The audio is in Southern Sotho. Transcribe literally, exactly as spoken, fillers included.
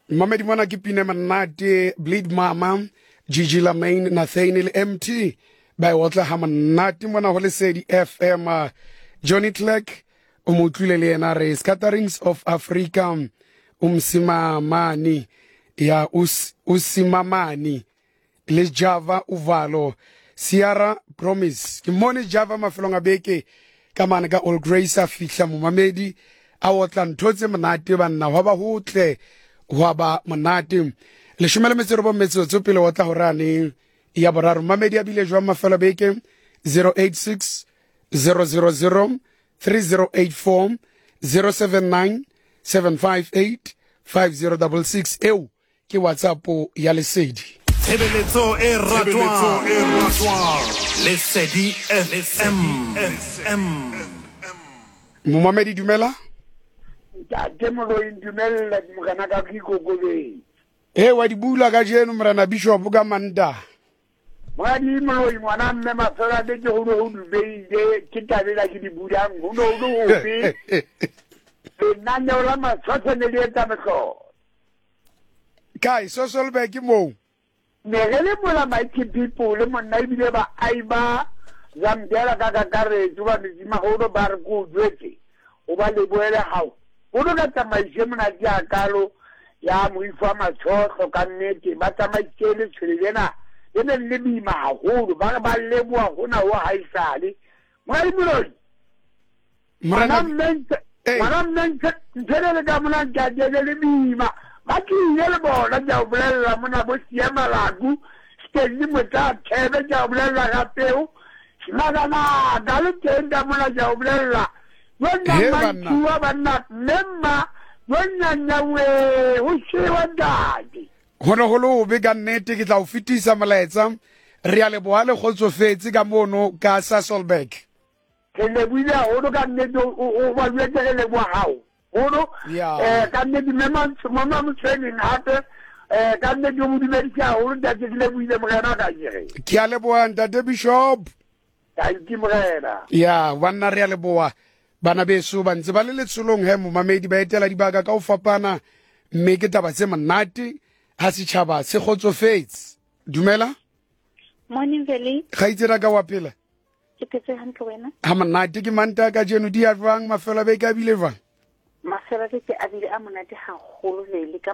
Mamedi mona ke pine monate Bleed Mama Gigi Lamaine Nathaniel M T ba e otla ha monate mona ho Lesedi F M. Johnny Clegg o mo utlwile le yena re Scatterings of Africa umsimamani ya us, usimamani le Java Uvalo Sierra Promise. Ke mone Java mafelong a beke ka mane ka All Grace a fihla momamedi a otla ntho tse monate banna hwa ba hotle hwa ba monate. Leshome le metso e robong metsotso pele o tla horane ya boraro. Mamedi a bile jwang mafelo a beke? Zero eight six zero zero zero three zero eight four zero seven nine seven five eight five zero double six. Eo ke WhatsApp ya Lesedi. Tshebeletso e ratwang Lesedi F M. Momamedi dumela. Ntate Moloi dumela morena ka ke ikokobetse. Eh wa di bula ka jeno morena Bishop ka Manta. Moradi Moloi ngwana mme mafela be ke ho no ho dubeile ke tabela ke di bulang ho no ho hobe. Lenaneo la matshwatshwa ne le etsa mehlolo. Kai Sasolburg ke moo. Ne re le mola mighty people le monna ebile ba aiba Zambia ka kakaretso ba metsimaholo ba re ko jwetse o ba lebohele hao. O no ka tsamaise monate a kalo ya moifo wa matshohlo ka nnete ba tsamaisitse letshwele lena le ne le boima haholo ba re ba leboha hona ho haesale. Moradi Moloi Morena ngwana mme ntho le ka mona ntate le boima ba tlile le bona ke a o bolella mona bo Sia Malaku Stanley Motla Thebe ke a o bolella ka peo Smakanaka le teng ka mona ke a o bolella He banna. Banna mme mma bonnyanyawe ho shewa ntate. Ho no ho le hobe ka nnete ke tla o fetisa molaetsa. Re a leboha le kgotsofetse ka mono ka Sasolburg. Ke lebohile haholo ka nnete o ba jwetse re leboha hao. Holo eh ka nnete mme mama Motshweneng hape eh ka nnete o mo dumedise haholo ntate ke lebohile morena ka kere. Ke a leboha ntate Bishop. Thank you morena. Ya banna re a leboha. Bana beso ba ntse ba le letsholong he momamedi ba etela dibaka ka ho fapana mme ke taba tse monate ha setjhaba se kgotsofetse. Dumela. Morning Veli. Kgaitsedi ka wa phela? Ke phetse hantle wena. Ha monate ke manta ka jeno di a jwang mafelo a beke a bile jwang? Mafelo a beke a bile a monate haholo Veli ka